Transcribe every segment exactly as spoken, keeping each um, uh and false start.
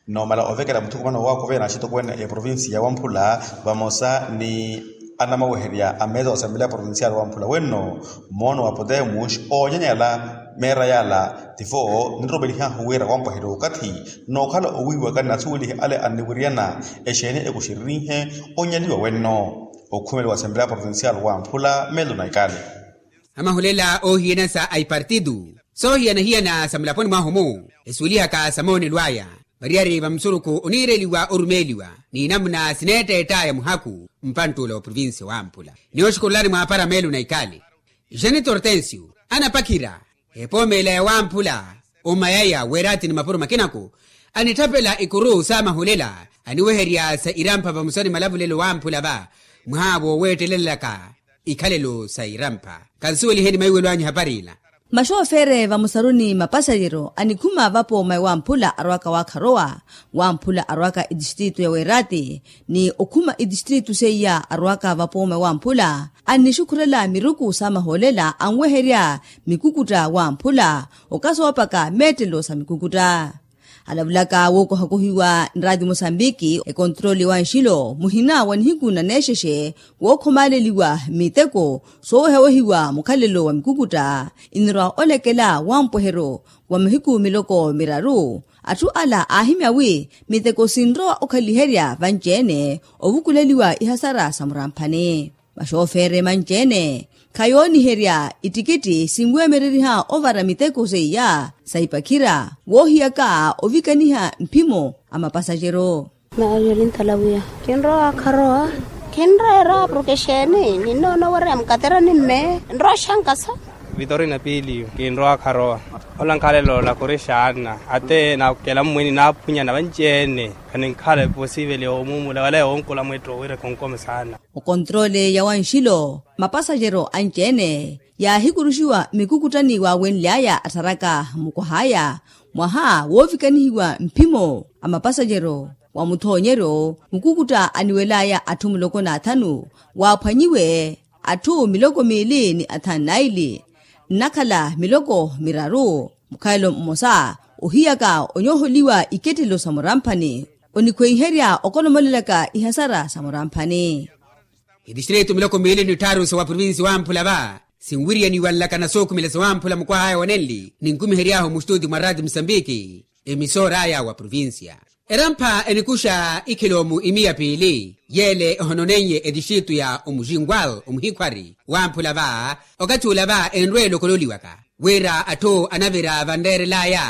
Noomala ovekela muthukumano wa wakuveya na axitokweene a eprovincia ya wamphula vamosa ni anamaweherya a mesa wa asambilea provincial wamphula wenno, moono wa potemus oonyanyala meera yala tivo ninromelihahu wira wampwahela okathi nookhala owiiwaka ni asuwelihi ale anniwiriyana exeeni ekuxiririnhe onyaliwa wenno. Okhumeliwa asambilea provincial wamphula melo na ikale. Amahulela oohiyana sa aipartitu soohiyana-hiyana sa mulaponi mwahu-mu esuwelihaka sa moonelo aya, variyari va musurukhu oniireliwa orumeeliwa ni namuna sineetteett'aya muhaku mpantt'ula wa provincia wamphula. Ni oxukurulani mwaapara meelo na ikali, janito hortensio anapakhira epoomeela ya wamphula omayaya weeraati ni mapuro makinaku anitthapela ikuru sa mahulela aniweherya sa irampha vamosa ni malavulelo wamphula va mwaha wooweettelelaka ikhalelo sa irampha. Kansuweliheni maiwelo anyu ehapari ila. Maxoofere vamosaru ni mapasajero anikhuma vapooma ewamphula arwaka waakharowa wamphula arwaka etistritu ya weeraati ni okhuma etistritu seiya arwaka vapooma ewamphula annixukhurela miruku sa mahoolela anweherya mikukutta wamphula okasoopaka meettelo sa mikukutta. Alavulaka wookohakohiwa nraati mosambiki ekontrole wa nxilo muhina wa nihiku na neexexe wookhomaaleliwa miteko soowehawehiwa mukhalelo wa mikukutta inirwa olekela wampwehero wa mahiku miloko miraru. Atthu ala aahimya wi miteko sinrowa okhaliherya vanci-ene ovukuleliwa ihasara sa muramphani. Maxoofere manci-ene khayooniherya ittikitti sinweemereriha ovara miteko seiya sa ipakhira woohiyaka ovikaniha mphimo a mapasajero. Mario lintalawiya kinrowa kharowa kinreera porke xeeni ninnoona owereya mukatera ni mme nrowa xankasa. Vitorina piiliyo kinrowa kharowa ola nkhalelo na khurixaana ate nakela mmwini naaphunyana vanci-ene. Khaninkhala eposiveli omuumula wala yoonkula mwetto wira khonkomesaana. Okontrole ya wanxilo mapasajero anci-ene yaahikuruxiwa mikukuttani waawenly'aya attharaka mukwah'aya mwaha woovikanihiwa mphimo a mapasajero wa muthoonyeryo mukukutta aniwel'aya atthu muloko n'athanu waaphwanyiwe atthu miloko miili ni athanu naili nnakhala miloko miraru mukhalelo mmosa ohiyaka onyooholiwa ikettelo sa muramphani onikhweiherya okolomolelaka ihasara sa muramphani. Itistritu miloko miili ni tthaaru sa wa provinsi wamphula va sinwiriyaniwa nlaka na sookhumela sa wamphula mukwah'aya wa nenli ninkumihery'ahu mustuti mwa rati musambiki emisoor'aya wa provinsiya erampha enikuxa ikhiloomu imiya piili yeele ehononeiye etistritu ya omuxinkwal omuhikhwari wamphula va okathi ula va enrweela okololiwaka wira atthu anavira vanreerel'aya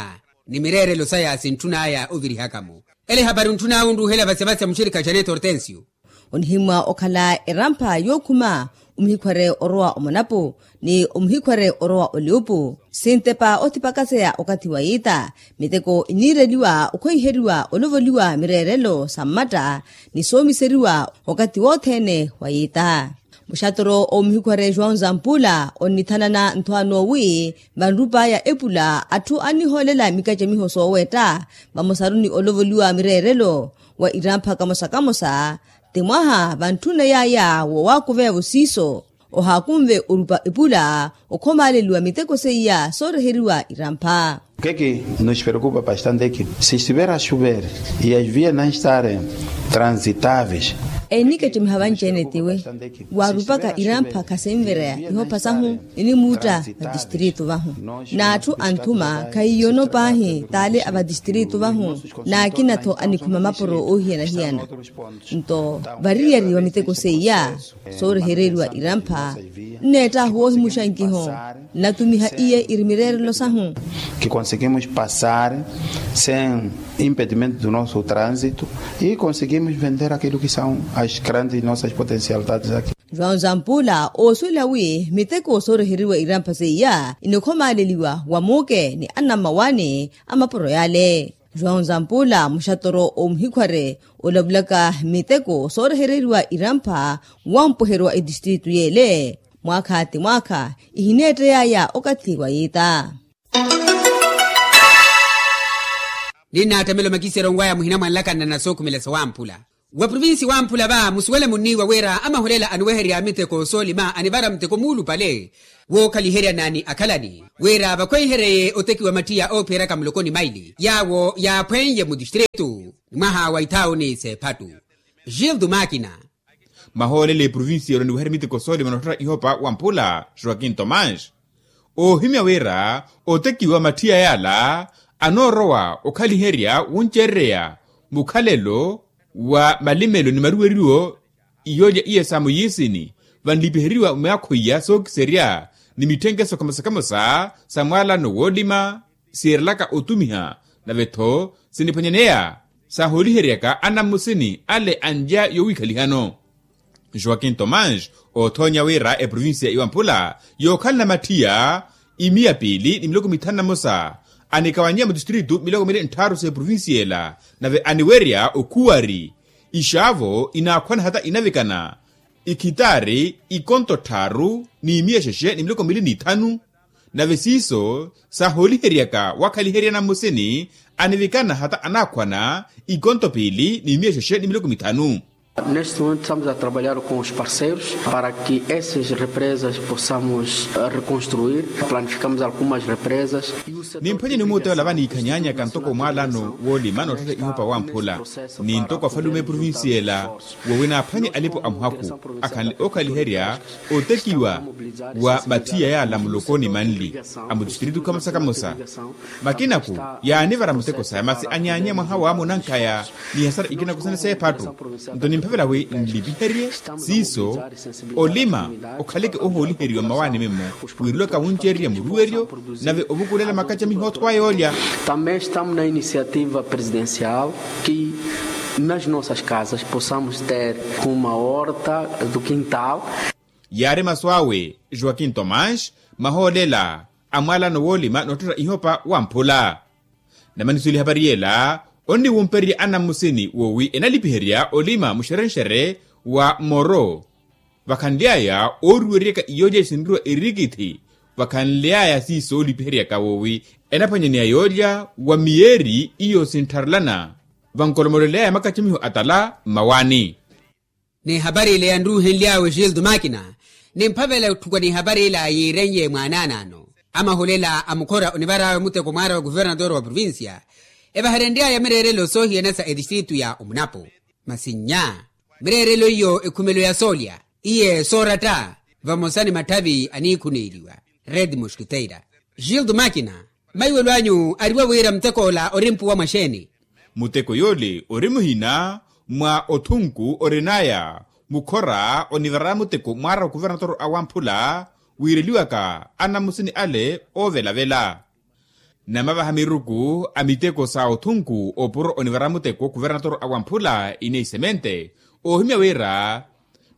ni mireerelo saya sintthun'aya ovirihaka-mo ele ehapari ontthun'awe onruuhela vasevase muxirikha janet hortensio. Onihimmwa okhala erampha yookhuma omuhikhware orowa omonapo ni omuhikhware orowa oliupu sintepa othipakaseya okathi wa yiita miteko iniireliwa okhweiheriwa olovoliwa mireerelo sa mmatta ni soomiseriwa okathi wothene wa yiita. Muxatoro omuhikhware joão zampula onnithanana nthwaano wi vanrup'aya epula atthu annihoolela mikacamiho soowetta vamosaru ni olovoliwa mireerelo wa irampha kamosa kamosa ti mwaha vantthuna yaya woowakuveya-vo siiso ohaakunve orupa epula okhomaaleliwa miteko seiya sooreheriwa irampha. Keki nos preocupa bastante ki si estivera a chover e as vias na estarem transitáveis. Ennikacamiha vanci-ene tiwe waarupaka irampha khasinvereya ihopha sahu inimuutta vatistritu vahu n'atthu anthuma khahiyono paahi t'ale a vatistritu vahu n'akina-tho anikhuma mapuro oohiyana-hiyana. Nto variyari wa miteko seiya soorehereriwa irampha nneett'ahu woohimuxa nkiho nnatumiha iye iri mireerelo sahu. Ki conseguimos passar sem impedimento do nosso trânsito e conseguimos vender aquilo que são as grandes nossas potencialidades aqui. João zampula oosuwela wi miteko sooreheriwa irampha seiya inikhomaaleliwa wa muuke ni anammawaani a mapuro yale. João zampula muxatoro omuhikhware olavulaka miteko soorehereriwa irampha wampweheriwa etistritu yeele mwaakha ti mwaakha ihineettey'aya okathi wa yiita. Ninnaattamela omakisero nw'aya muhina mwa nlakana na sookhumela sa wamphula Wa provinsi wamphula va musuwele munniiwa wira amahulela aniweherya miteko soolima anivara muteko muulupale wookhaliheryana ni akhalani wira vakhweiheryeye otekiwa mattiya oophiyeraka muloko ni maili yaawo yaaphweiye mutistritu ni mwaha wa ithaawuni s'ephattu. Gildo makina. Mahoolela eprovinsi yelo niweherya miteko soolima nootthetta ihopa wamphula joaquin tomás oohimya wira otekiwa mattiya yaala anoorowa okhaliherya wuncerereya mukhalelo wa malimelo ni maruweriwo iyoolya iya sa muyiisini vanlipiheriwa myaakho iya sookiserya ni mitthenke sokamosa-kamosa sa mwaalano woolima siirelaka otumiha nave-tho siniphwanyaneya sahooliheryaka anammusini ale anlya yowiikhalihano. Joaquin tomás oothoonya wira eprovinsiya iwamphula yookhalana mattiya imiya piili ni miloko mithanu na mosa anikawanyiya mutistritu miloko miili ntthaaru s'eprovinsiya ela nave aniwerya okhuwari ixaavo inaakhwana hata inavikana ikhitaari ikonto tthaaru n'imiya xexe ni miloko miili n'ithanu. Nave siiso sahooliheryaka wakhaliherya nammusini anivikana hata anaakhwana ikonto piili n'imiya xexe ni miloko mithanu. Neste momento estamos a trabalhar com os parceiros para que essas represas possamos reconstruir. Planificamos algumas represas. Nimphwanyeni omuuteya ola vaniikhanyaanyaka ntoko mwaalano woolima nootthetta ihopa wamphula ni ntoko afalume eprovinsiya ela woowi naaphwanye alipo a muhakhu akhanle ookhaliherya otekiwa wa mattiya yaala muloko ni manli a mutistritu kamosa-kamosa. Makinaku yaanivara muteko saya masi anyaanyiya mwaha wa munankhaya ni hasara ikinaku sene s'ephattu. Nto nimphavela wi nlipiherye siiso olima okhaleke ohooliheriwa mmawaani mimmo wiirelwaka wuncererya muruweryo nave ovukulela makacamiho othowaya olya. Também estamos na iniciativa presidencial que nas nossas casas possamos ter uma horta do quintal. Yaari masu awe joaquin tomás mahoolela a mwaalano woolima nootthetta ihopa wamphula. Namaniso elihapari yela onniwumpererya anammusini woowi enalipiherya olima muxerenxere wa moro vakhanly'aya ooriweryaka iyoolya isinriwa erikithi vakhanly'aya siiso oolipiheryaka woowi enaphwanyaneya yoolya wa miyeeri iyo sinttharelana vankolomolel'aya makacamiho atala mmawaani. N'ihapari ile yanruuhenly'awe gildo makina nimphavela etthuka n'ihapari ila yiiren'ye mwaanaanaano amahulela a mukhora onivar'awe muteko mwaara wa kuvernatoro wa provincia evaherenry'aya mireerelo soohiyana sa etistritu ya omunapo. Masi nnya mireerelo iyo ekhumelo ya soolya iye sooratta vamosa ni matthavi aniikhuneeliwa red mosquiteira. Gildo makina maiwelo anyu ariwa wira mutek'ola ori mpuwa mwa xeeni? Muteko yoole ori muhina mwa othunku orin'aya mukhora onivara muteko mwaara okuvernatoro awamphula wiireliwaka anamusini ale oovelavela. Namavaha miruku a miteko sa othunku opuro onivara muteko kuvernatoro awamphula ine isemente oohimya wira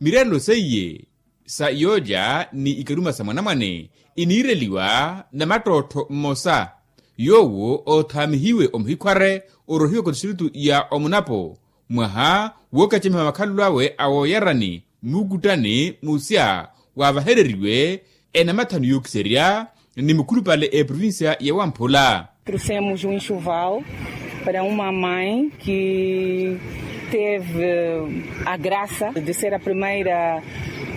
mireerelo seiye sa yoolya ni ikaruma sa mwanamwane iniireliwa na mattottho mmosa yoowo oothaamihiwe omuhikhware orohiwaka otistiritu ya omunapo mwaha wookacemiha makhalelo awe awooyarani mukuttani musya waavahereriwe enamathanu yookiserya ni mukhulupale eprovincia ya wamphula. Trouxemos um enxoval para uma mãe que teve a graça de ser a primeira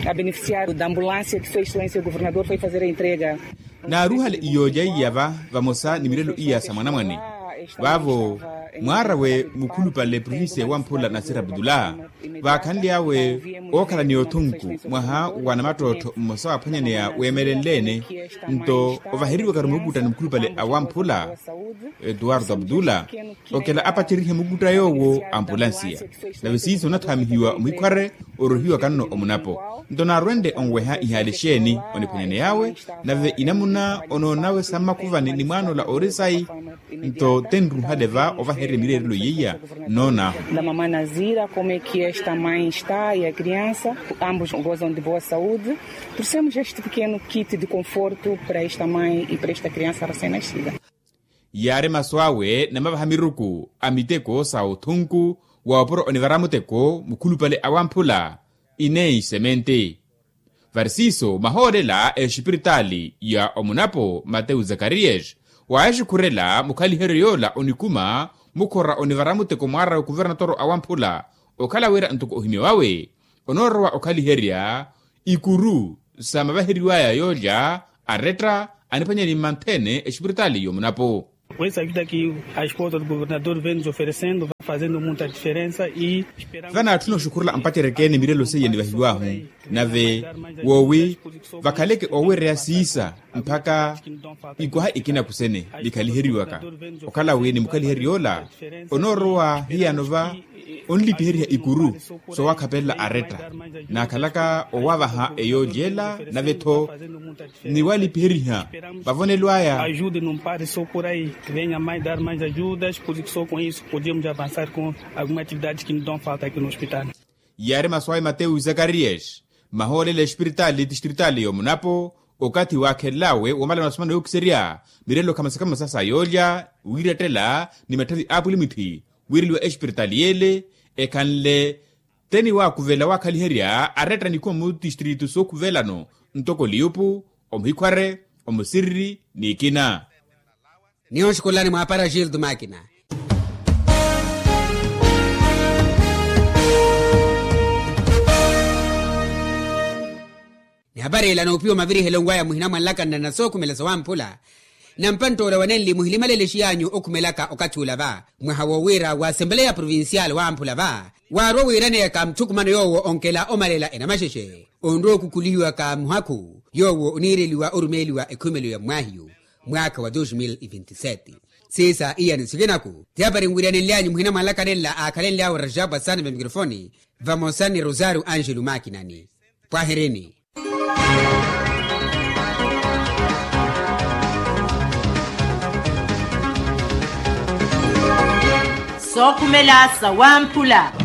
a beneficiar da ambulância que fez excelência o governador foi fazer a entrega. Naaruhale iyoolya iya va vamosa ni milelo iya sa mwanamwane vaavo mwaarawe mukhulupale provincia ya wamphula nasira abdullah vaakhanly'awe ookhala ni othunku mwaha wa namattottho mmosa waaphwanyaneya weemelenle-ene nto ovaheriwaka-ru mukuttani mukhulupale awamphula etuwarto abdullah okela apacerihe mukutta yoowo ampulansiya nave siiso onathaamihiwa omuhikhware orohiwaka-nno omunapo nto naarwenle onweha ihaali exeeni oniphwanyaney'awe nave inamuna onoonawe sa mmakuvani ni mwaana ola ori sayi nto tenruhale va ovahererya mireerelo yeiya noonaahu. Da mamã nazira como é que esta mãe está e a criança ambos gozam de boa saúde. Trouxemos este pequeno kit de conforto para esta mãe e para esta criança recém-nascida. Yaari masu awe namavaha miruku a miteko sa othunku wa opuro onivara muteko mukhulupale awamphula ineyi semente. Vari siiso mahoolela exipiritaali ya omunapo mateu zakariyas waaxikhurela mukhaliheryo yoola onikuma mukhora onivara muteko mwaara wa kuvernatoro awamphula Okhala wira ntoko ohimya wawe onoorowa okhaliherya ikuru sa mavaheriw'aya yoolya aretta aniphwanyani mmanthene exipiritaali y'omunapo. Vanaatthuna oxukhurela ampacereke-ene mirelo seiya nivahiw'ahu nave woowi vakhaleke oowereya siisa mpakha ikwaha ikina kusene nikhaliheriwaka. Okhala wi nimukhaliherya ola onoorowa hiyano va onlipiheriha ikuru soowakhapelela aretta naakhalaka owavaha eyoolya ela nave-tho niwalipiheriha vavonelo aya. Ajude num pare sokurai venha mai dar mais ajudas por isso com isso podemos avançar com alguma atividade que nos dão falta aqui no hospital. Yaari masu awe mateus zakarias mahoolela espiritaali tistritaali y'omunapo okathi waakhelelawe womala masu mano yookiserya mirelo khamasakhamasa sa yoolya wiirettela ni matthavi a apwilimwithi wiireliwa espiritaali y'ele ekhanle teni waakuvela waakhaliherya aretta nikhuwa mu tistritu sookhuvelano ntoko liyupu omuhikhware omusiriri n'ikina. Niyo nxukulani mwaapara gildo makina. Nihapari ila noopiwa mavirihelo nwaaya muhina mwanlakanana sookhumela sawamphula. Nampantt'ola wanenli muhilimalele xiyaanyu okhumelaka okathi ula va mwaha wowiira wa asempeleya provincial wamphula va waarwa wiiraneyaka muthukumano yoowo onkela omalela enamaxexe onrowa okukhulihiwaka muhakhu yoowo oniireliwa orumeeliwa ekhumelo ya mmwaahiyu mwaakha wa dos mil e vinti sete. Siisa iyani sikinaku tihapari nwiiranenlyanyu muhina mwanlakanenla aakhalenly'awe rajabu asani va mikrofoni vamosa ni rosario angelo makinani. Pwahirini. Sookhumela sawamphula.